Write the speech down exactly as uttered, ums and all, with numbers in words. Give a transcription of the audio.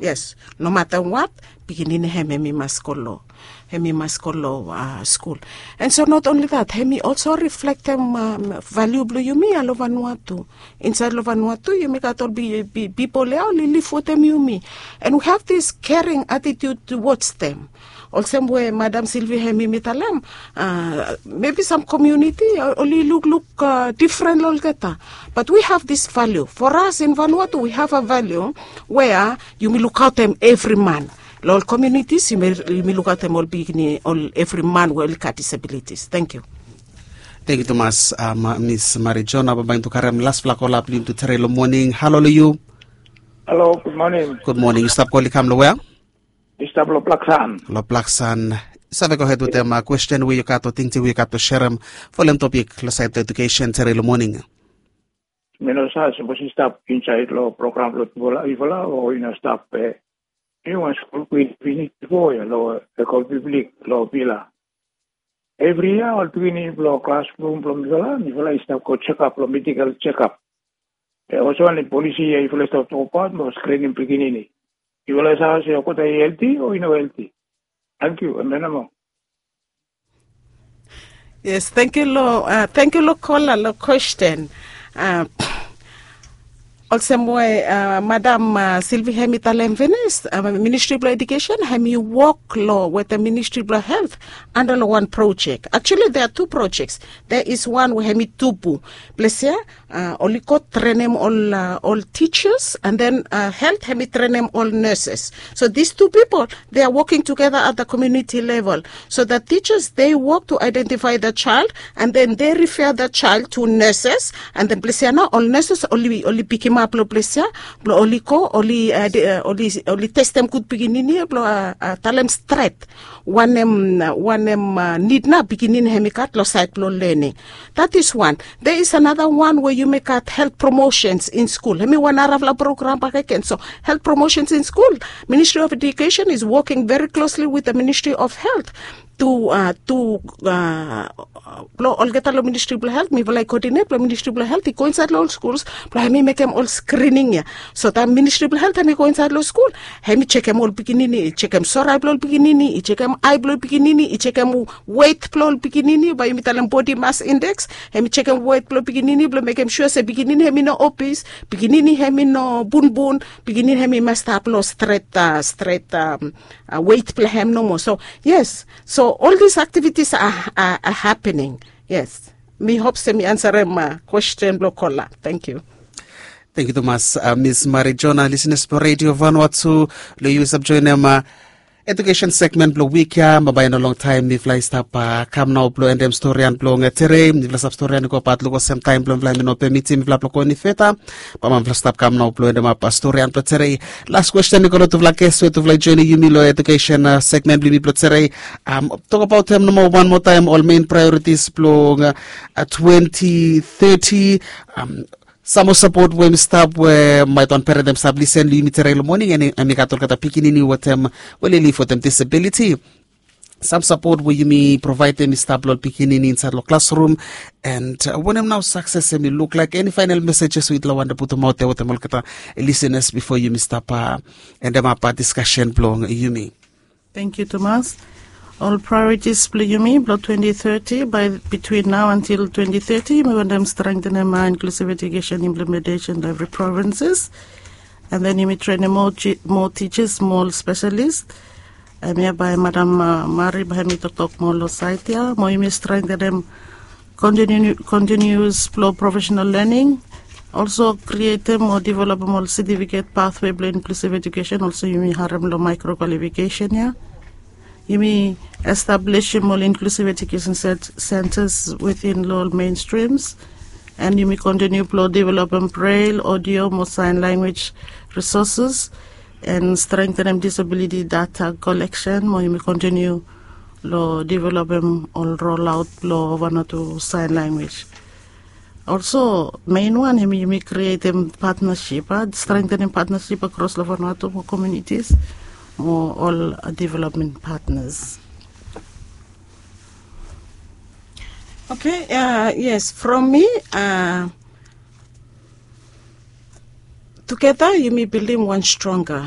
Yes, no mata wat, pikinini hem hem i mas go long, hem i mas go long skul. And so not only that, hem i also reflektem valiu blong yumi ya long Vanuatu. Insaed long Vanuatu yumi gat ol pipol ya oli liv wetem yumi, and we have this caring attitude towards them. Olsem we Madam Silvi hem i mi talem, mebi sam komuniti oli lukluk difren long olgeta. But we have this value for us in Vanuatu, we have a value wea yumi lukaotem evri man. Long ol komunitis yumi lukaotem ol pikinini, ol evri man we oli gat disabilitis. Thank you. Thank you tumas, Miss Mary Jona. Bambae yumi tu karem laspela kola blong yumi tu tere long moning. Halo long yu. Halo, gud moning. Gud moning. Yu stap kol i kam long wea? Yu stap long Blaksan. Long Blaksan. Yu save gohed wetem kwesten we yu gat o tingting we yu gat blong serem folem topik long saed blong edukesen tere long moning? Mi no save sapos i stap insaed long program blong tufala yufala o i no stap. Niu wan skul kwin finis bifo ya long Ekol Piblik long Vila. Evri yia ol pikinini blong klasrum blong mifala mifala i stap go sekap long medikal sekap. Olsem wanem polisi ya yufala i stap tokbaot blong skrinim pikinini? Yufala i save olsem olgeta i helti o i no helti? Tangkiu. Em ya namo. Yes, tangkiu long, tangkiu long kola long kwesten. Olsem we Madam Silvi hem i talem finis, Ministri blong Edukesen hem i wok long wetem Ministri blong Helt anda long wan projek. Actually there are two projects. There is one we hem i tubu ples ya, oli go trenem ol tijas, and then Helt hem i trenem ol neses. So these two pipol, they are working together at the community level. So the teachers, they work to identify the child, and then they refer the child to nurses, and then ples ya nao ol nurses oli pikimap long ples ya blong oli go, oli testem gud pikinini ya blong talem stret wanem wanem nid nao pikinini hem i gat long saed blong lening. That is one. There is another one we yumi gat health promotions in school. Hem i wan narafala program bakegen. So health promotions in school, Ministry of Education is working very closely with the Ministry of Health tu tu blong olgeta long Ministri blong Helt, mifala i kodinet blong Ministri blong Helt i go insaed long ol skuls blong hem i mekem ol skrining ya. So taem Ministri blong Helt hem i go insaed long skul, hem i jekem ol pikinini, i jekem sore blong ol pikinini, i jekem ae blong ol pikinini, i jekem wet blong ol pikinini, bae yumi talem bodi mas indeks. Hem i jekem wet blong pikinini blong mekem sua se pikinini hem i no obis, pikinini hem i no bunbun, pikinini hem i mas stap long stret stret wet blong hem nomo. So yes, so ol dis aktivitis a hapening. Yes, mi hop se mi ansarem kwesten blong kola. Tangkiu. Tangkiu tumas, Miss Mary Jona. Lisenas blong Redio Vanuatu, long yu save joenem edukesen segmen blong wik ya. Bambae i no longtaem mifala i stap kam nao blong endem storian blong tere. Mifala stap storian i go bat luk olsem taem blong mifala hem i no pemitim mifala blong go enifeta. Bambae mifala stap kam nao blong endemap storian blong tere. Las kwesten i go long tufala ges we tufala i joenem yumi long edukesen segmen blong yumi blong tere. Tokbaotem nomo wan moa taem ol mein praeoritis blong twenti teti. Sam moa sapot we hem i stap we maet wan peren hem i stap lisen long yumi tere long moning, hem i gat olgeta pikinini wetem we oli liv wetem disabiliti. Sam sapot we yumi provaedem i stap long ol pikinini insaed long klasrum, and wanem nao sakses hem i luklaek? Eni faenal mesejes we yutufala wantem putumaot ya wetem olgeta lisenas bifo yumi stap endemap diskasen blong yumi? Tangkiu tumas. Ol praeoritis blong yumi blong twenti teti, bae bitwin nao antil twenti teti yumi wantem strengtenem inklusiv edukesen implementesen long evri provinses. And then yumi trenem moa tijas, moa ol spesialis. Hemia bae Madam Mari bae hem i toktok moa long saed ya. Mo yumi strengtenem kontinius blong profesenal lening. Olso krietem o developem ol setifiket pathwe blong inklusiv edukesen, olso yumi harem long maekro kwalifikesen ya. Yumi establisim ol inklusiv edukesen sentas within long ol meinstrims. And yumi kontiniu blong developem brel, odio mo saen lanwis risoses, and strengtenem disabiliti data koleksen, mo yumi kontiniu long developem ol rolaot blong Vanuatu saen lanwis. Olso mein wan hem yumi krietem patnasip, strengtenem patnasip akros long Vanuatu mo komunitis mo ol developmen patnas. Oke, yes, from mi, tugeta yumi bildim wan stronga